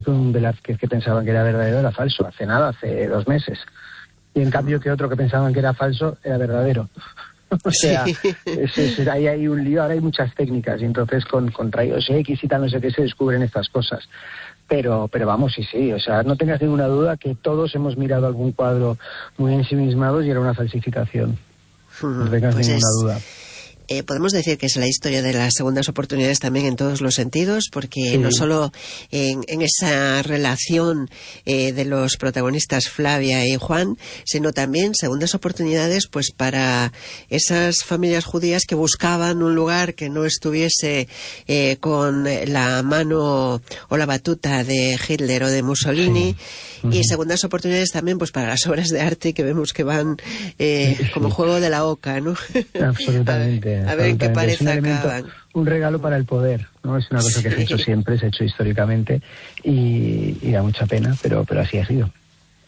un Velázquez que pensaban que era verdadero era falso, hace 2 meses. Y en cambio que otro que pensaban que era falso era verdadero. O sea, ahí hay un lío, ahora hay muchas técnicas, y entonces con rayos X y tal, no sé qué, se descubren estas cosas. Pero vamos, sí, o sea, no tengas ninguna duda que todos hemos mirado algún cuadro muy ensimismados y era una falsificación. No tengas ninguna duda. Podemos decir que es la historia de las segundas oportunidades también en todos los sentidos, porque sí, no solo en esa relación de los protagonistas Flavia y Juan, sino también segundas oportunidades pues para esas familias judías que buscaban un lugar que no estuviese con la mano o la batuta de Hitler o de Mussolini. Sí. Y segundas oportunidades también pues para las obras de arte que vemos que van como juego de la oca, ¿no? Absolutamente. A ver en qué pareja acaban. Un regalo para el poder, ¿no? Es una cosa que se ha hecho siempre, se ha hecho históricamente y da mucha pena, pero así ha sido.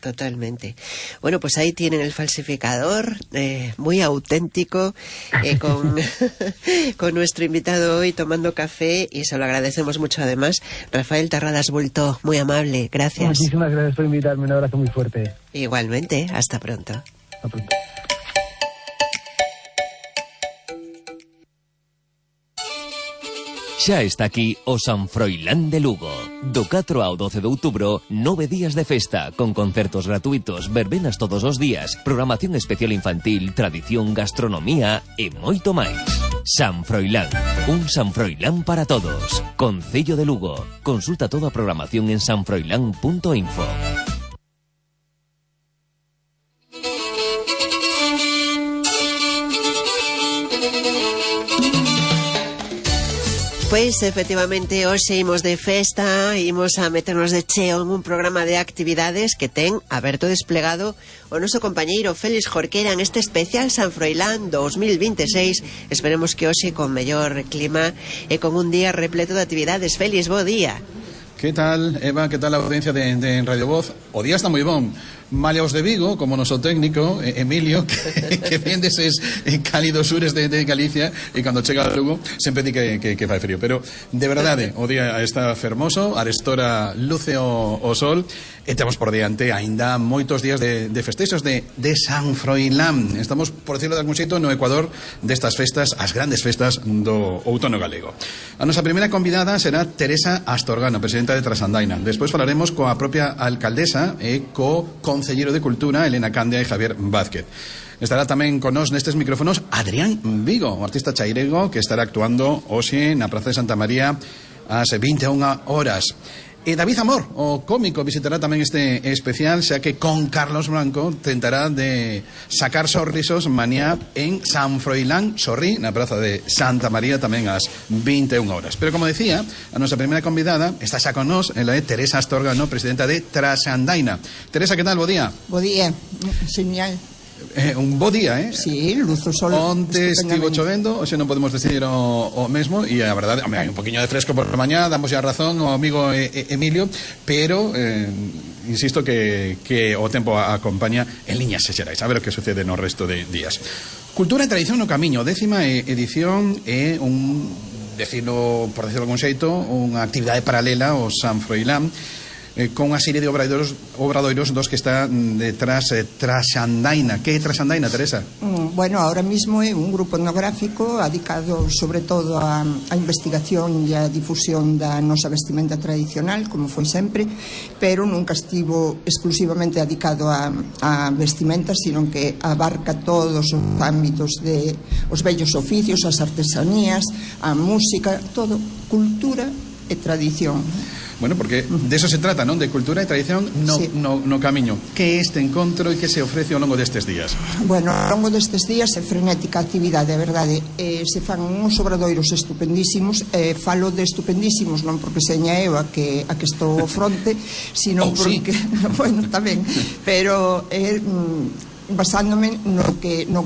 Totalmente. Bueno, pues ahí tienen el falsificador, muy auténtico, con nuestro invitado hoy tomando café, y se lo agradecemos mucho además. Rafael Terradas Bulto, muy amable, gracias. Muchísimas gracias por invitarme, un abrazo muy fuerte. Igualmente, hasta pronto. Hasta pronto. Xa está aquí o San Froilán de Lugo. Do 4 ao 12 de outubro, 9 días de festa, con concertos gratuitos, verbenas todos os días, programación especial infantil, tradición, gastronomía e moito máis. San Froilán, un San Froilán para todos. Concello de Lugo. Consulta toda a programación en sanfroilán.info. Pois efectivamente hoxe imos de festa, imos a meternos de cheo en un programa de actividades que ten aberto desplegado o noso compañeiro Félix Jorquera en este especial San Froilán 2026. Esperemos que hoxe con mellor clima e con un día repleto de actividades. Félix, bo día. Que tal, Eva? Que tal a audiencia de Radio Voz? O día está moi bon. Maleaos de Vigo, como noso técnico Emilio, que vén deses cálidos sures de Galicia, e cando chega a Lugo sempre di que fai frío, pero de verdade o día está fermoso, arestora luce o sol, e temos por diante aínda moitos días de festexos de San Froilán. Estamos, por decirlo de algún xeito, no Ecuador destas festas, as grandes festas do outono galego. A nosa primeira convidada será Teresa Astorgana, presidenta de Trasandaina. Despois falaremos coa propia alcaldesa e co Concelleiro de Cultura, Elena Candia e Javier Vázquez. Estará tamén con nós nestes micrófonos Adrián Vigo, o artista chairego que estará actuando hoxe na Praza de Santa María ás 21 horas. E David Amor, o cómico, visitará tamén este especial, xa que con Carlos Blanco tentará de sacar sorrisos mañá en San Froilán, Sorrí, na Praza de Santa María, tamén ás 21 horas. Pero como decía, a nosa primeira convidada está xa con nós, ela é Teresa Astorgano, presidenta de Trasandaina. Teresa, que tal? Bo día. Bo día, señal. Un bo día, Sí, luz o sol. Onte estivo chovendo, hoxe non podemos decidir o mesmo, e a verdade, hai un poquinho de fresco por la mañá, damos a razón ao amigo Emilio, pero insisto que o tempo acompaña en liñas xerais, a ver o que sucede no resto de días. Cultura e tradición no camiño, 10ª edición, é decirlo, por decirlo algún xeito, unha actividade paralela ao San Froilán, con unha serie de obradoiros dos que está detrás Trasandaina. Que é Trasandaina, Teresa? Bueno, ahora mismo é un grupo etnográfico dedicado sobre todo a investigación e a difusión da nosa vestimenta tradicional, como foi sempre, pero nunca estivo exclusivamente dedicado a vestimenta, sino que abarca todos os ámbitos de os vellos oficios, as artesanías, a música, todo, cultura e tradición. Bueno, porque de eso se trata, non? De cultura e tradición no camiño. Que é este encontro e que se ofrece ao longo destes días? Bueno, ao longo destes días é frenética actividade, a verdade. Se fan uns obradoiros estupendísimos. Falo de estupendísimos non porque seña eu a que estou ao fronte, sino porque... Bueno, tamén. Pero basándome no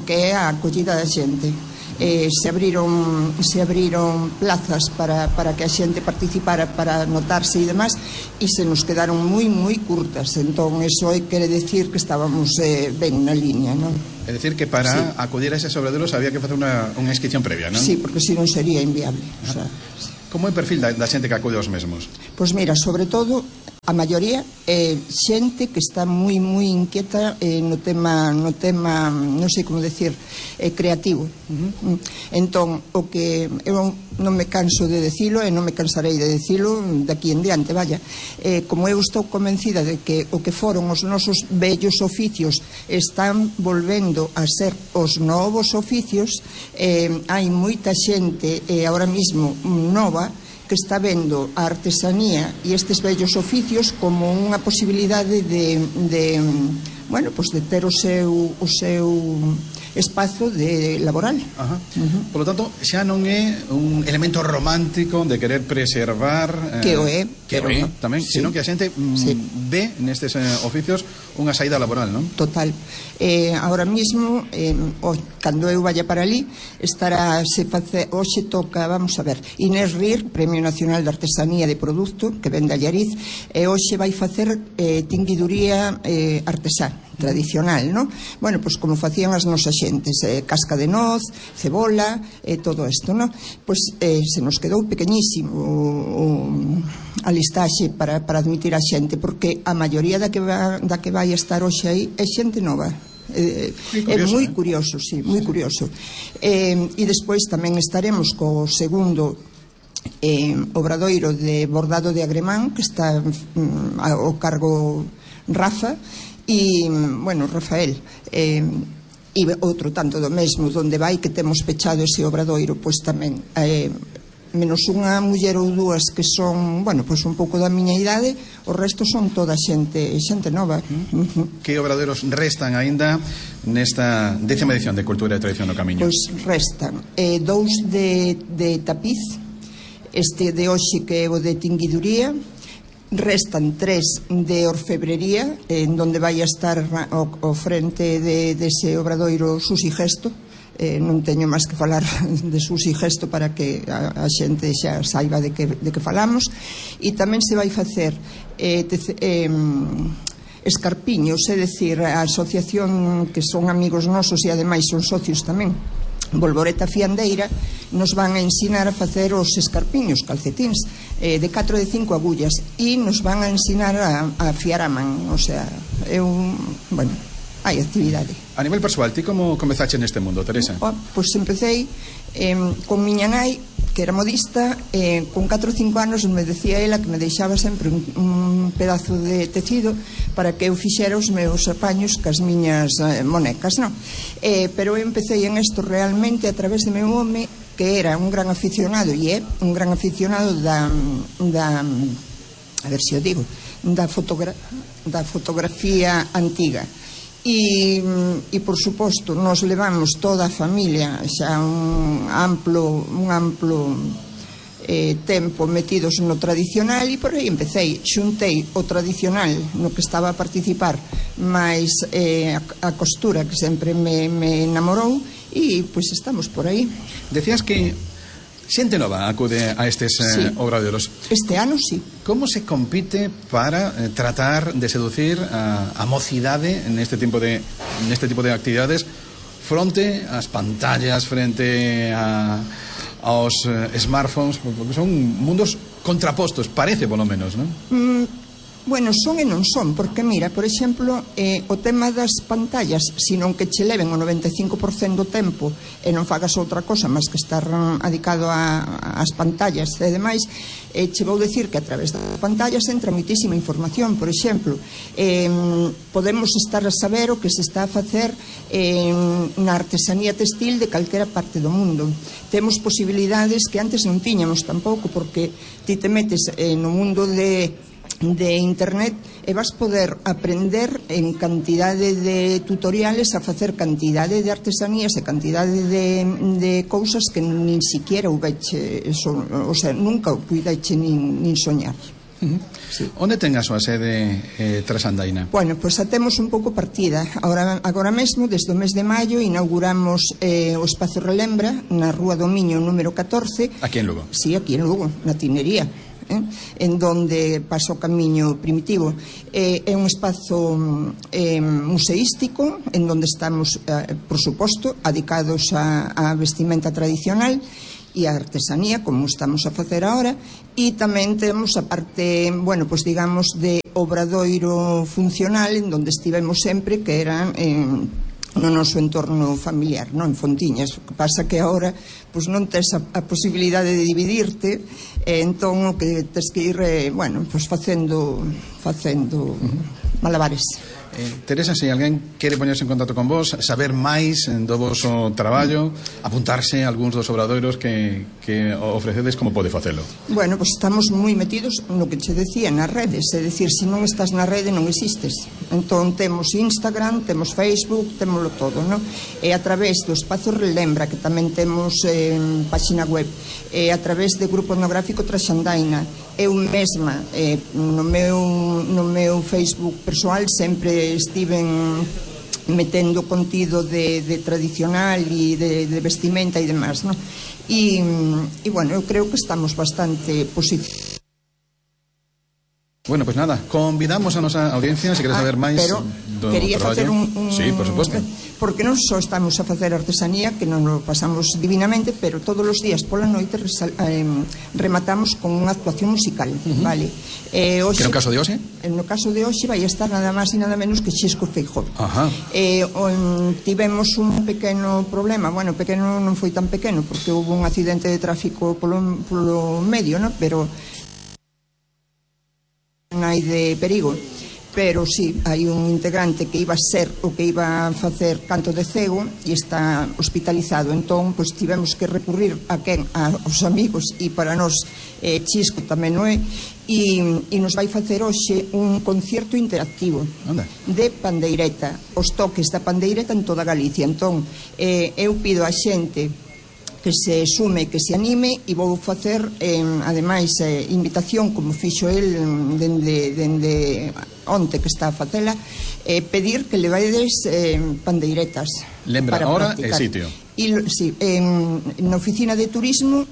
que é a acollida da xente. Se abriron plazas para que a xente participara, para notarse e demás, e se nos quedaron moi curtas. Entón, eso quere decir que estábamos ben na línea, non? É dicir que para acudir a eses obradoiros había que facer unha inscripción previa, non? Sí, porque se non sería inviable. Como é o perfil da xente que acude aos mesmos? Pois mira, sobre todo A maioría é xente que está moi inquieta no tema, non sei como decir, creativo. Entón, o que eu non me canso de decilo e non me cansarei de decilo daqui en diante, vaya. Como eu estou convencida de que o que foron os nosos vellos oficios están volvendo a ser os novos oficios, hai moita xente agora mesmo nova que está vendo a artesanía e estes vellos oficios como unha posibilidade de ter o seu espazo laboral. Por lo tanto, xa non é un elemento romántico de querer preservar que o é tamén, sí, sino que a xente ve nestes oficios unha saída laboral, non? Total. Ahora mismo, cando eu vaya para ali, hoxe toca, vamos a ver, Inés Rir, Premio Nacional de Artesanía de Produto, que vende a Allariz, e hoxe vai facer tinguiduría artesá tradicional, non? Bueno, pois como facían as nosas xentes, casca de noz, cebola, todo isto, non? Pois se nos quedou pequeñísimo a listaxe para admitir a xente, porque a maioría da que vai estar hoxe aí é xente nova. É moi curioso, sí, moi curioso. E despois tamén estaremos co segundo obradoiro de bordado de Agremán, que está ao cargo Rafa e, bueno, Rafael, e outro tanto do mesmo, donde vai que temos pechado ese obradoiro, pois tamén menos unha muller ou dúas que son, bueno, pois un pouco da miña idade, o resto son toda xente nova. Que obradoiros restan aínda nesta 10ª edición de Cultura e Tradición no Camiño? Pois restan 2 de tapiz, este de hoxe que é o de tinguiduría, restan 3 de orfebrería, en donde vai a estar ao frente dese obradoiro Susi Gesto. Non teño máis que falar de Susi Gesto para que a xente xa saiba de que falamos. E tamén se vai facer escarpiños, é dicir, a asociación que son amigos nosos e ademais son socios tamén, Volvoreta Fiandeira, nos van a ensinar a facer os escarpiños, calcetíns, de 4 e de 5 agullas, e nos van a ensinar a fiar a man, o sea, bueno, hai actividade. A nivel persoal, ti como comezaste neste mundo, Teresa? Pois empecé con miña nai, que era modista, con 4 ou 5 anos me decía ela que me deixaba sempre un pedazo de tecido para que eu fixera os meus apaños cas miñas monecas, non? Pero eu empecé en isto realmente a través de meu home, que era un gran aficionado, e é un gran aficionado da a ver se o digo, da fotografía antiga. E por suposto nos levamos toda a familia xa un amplo tempo metidos no tradicional, e por aí empecé, xuntei o tradicional no que estaba a participar máis a costura, que sempre me enamorou, e pois estamos por aí. Decías que xente nova acude a estes obradoiros. Este ano sí. Como se compite para tratar de seducir a mocidade neste tipo de actividades fronte ás pantallas, frente aos smartphones, porque son mundos contrapostos, parece polo menos, non? Bueno, son e non son, porque mira, por exemplo, o tema das pantallas, senón que che leven o 95% do tempo e non fagas outra cosa máis que estar adicado ás pantallas e demais, che vou dicir que a través das pantallas entra moitísima información. Por exemplo, podemos estar a saber o que se está a facer na artesanía textil de calquera parte do mundo. Temos posibilidades que antes non tiñamos tampouco, porque ti te metes no mundo de internet e vas poder aprender en cantidade de tutoriales a facer cantidade de artesanías e cantidade de cousas que nin siquiera houveche, o sea, nunca o puideche nin soñar. Sí. Onde ten a súa sede Trasandaina? Bueno, pois a temos un pouco partida. Agora mesmo, desde o mes de maio, inauguramos o Espazo Relembra na Rúa do Miño número 14. Aquí en Lugo? Sí, aquí en Lugo, na Tinería, en donde pasa o camiño primitivo. É un espazo museístico en donde estamos, por suposto, adicados á vestimenta tradicional, e a artesanía, como estamos a facer agora, e tamén temos a parte, bueno, pois digamos, de obradoiro funcional, en donde estivemos sempre, que eran no noso entorno familiar, non, en Fontiñas. O que pasa que agora pois non tes a posibilidade de dividirte, entón o que tes que ir, bueno, pois facendo malabares. Teresa, se alguén quere poñerse en contacto con vos, saber máis do voso traballo, apuntarse a algúns dos obradoiros que ofrecedes, como pode facelo? Bueno, pois estamos moi metidos no que che decía, nas redes, é dicir, se non estás na rede non existes. Entón temos Instagram, temos Facebook, témoslo todo, non? E a través do Espazo Relembra, que tamén temos páxina web, e a través do Grupo Etnográfico Traxandaina, eu mesma no meu Facebook persoal sempre estiven metendo contido de tradicional e de vestimenta e demás, non? E bueno, eu creo que estamos bastante positivos. Bueno, pues nada, convidamos a nosa audiencia, se quere saber máis do quería facer traballo. Sí, por suposto. Porque non só estamos a facer artesanía, que non lo pasamos divinamente, pero todos os días pola noite rematamos con unha actuación musical, vale? Que no caso de hoxe? No caso de hoxe vai estar nada máis e nada menos que Xisco Feijóo. Tivemos un pequeno problema, bueno, pequeno non foi tan pequeno, porque houve un accidente de tráfico polo medio, non? Pero non hai de perigo, pero sí, hai un integrante que iba a ser o que iba a facer canto de cego e está hospitalizado, entón pois tivemos que recurrir aos amigos, e para nós Xisco tamén non é, e nos vai facer hoxe un concierto interactivo de pandeireta, os toques da pandeireta en toda Galicia. Entón eu pido a xente que se sume, que se anime, e vou facer, ademais, invitación, como fixo el dende onte que está a facela, pedir que levadedes pandeiretas. Lembra hora e sitio. Sí, na oficina de turismo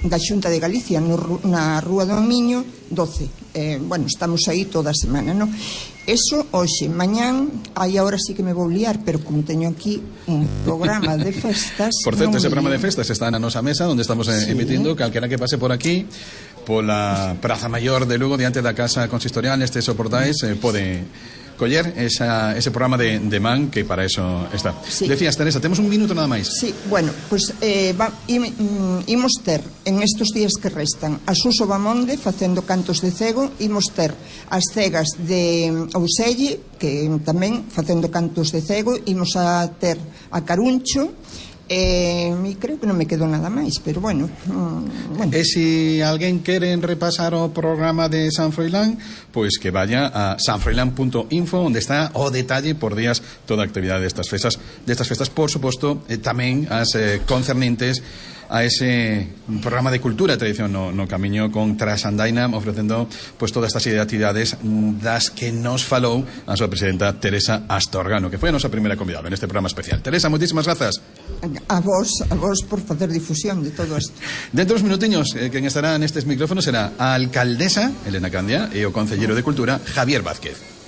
da Xunta de Galicia, na Rúa do Miño 12. Bueno, estamos aí toda a semana, non? Eso hoxe, mañán, aí agora sí que me vou liar, pero como teño aquí un programa de festas... Por certo, ese programa de festas está na nosa mesa, onde estamos emitindo, calquera que pase por aquí, pola Praza Maior de Lugo, diante da Casa Consistorial, nestes soportais, pode coller ese programa de man, que para eso está. Sí. Decías, Teresa, temos un minuto nada máis. Sí, bueno, pues imos ter en estos días que restan a Suso Bamonde facendo cantos de cego, imos ter as cegas de Ouselle, que tamén facendo cantos de cego, imos a ter a Caruncho, e creo que non me quedou nada máis, pero bueno. E se alguén quere repasar o programa de San Froilán, pois que vaya a sanfroilán.info, onde está o detalle por días toda a actividade destas festas, por suposto, tamén as concernentes a ese programa de cultura e tradición no camiño con Traxandaina, ofrecendo pois todas estas actividades das que nos falou a súa presidenta Teresa Astorgano, que foi a nosa primeira convidada neste programa especial. Teresa, moitísimas grazas. A vos por facer difusión de todo isto. Dentro dos minutiños, quen estará nestes micrófonos será a alcaldesa Elena Candia e o concelleiro de Cultura Javier Vázquez.